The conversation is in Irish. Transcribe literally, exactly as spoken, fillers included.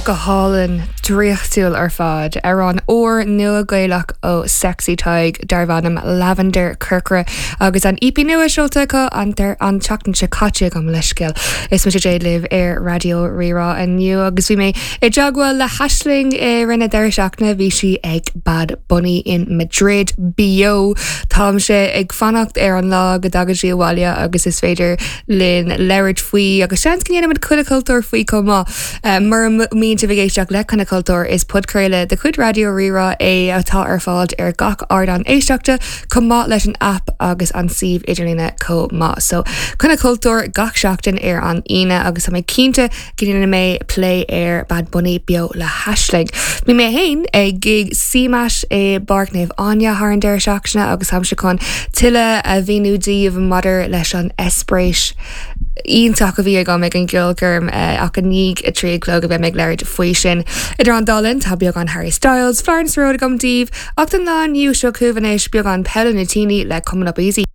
Go hálainn draíochtúil ar fad amhrán úr nua Gaelach ó Sexy Tadhg darb ainm Lavender Corcra agus an EP nua seolta acu an an tseachtain seo caite gabh mo leithscéal. Is mise Jade libh ar Raidió Rí-Rá inniu agus bhí mé i dteagmháil le hAisling i rith na deireadh seachtaine bhí sí ag Bad Bunny in Madrid beo Táimse ag fanacht ar an lá go dtagann sí abhaile agus is féidir linn labhairt faoi agus seans go ndéanfaimid Coinne Cultúir faoi chomh maith. Uh, Mura mbíonn sibh ag éisteacht le Coinne Cultúir is podchraoladh de chuid Raidió Rí-Rá é atá ar fáil ar gach ardán éisteachta chomh maith leis an app agus an suíomh idirlín chomh maith. So Coinne Cultúir gach seachtain ar an Aoine agus tá mé cinnte go ndéanfaidh mé plé ar Bad Bunny beo le hAisling. Bhí mé féin ag gig CMAT i bPáirc Naomh Áine thar an deireadh seachtaine agus táimse chun tuilleadh a mhíniú daoibh maidir leis an eispéireas iontach a bhí agam ag an gceolchoirm ach i ndiaidh a trí a chlog a bheidh mé ag labhairt faoi sin. Idir an dá linn tá beagán Harry Styles, Florence Road agam daoibh ach don lá inniu seo chugaibh anois beagán Paolo Nutini le Coming Up Easy.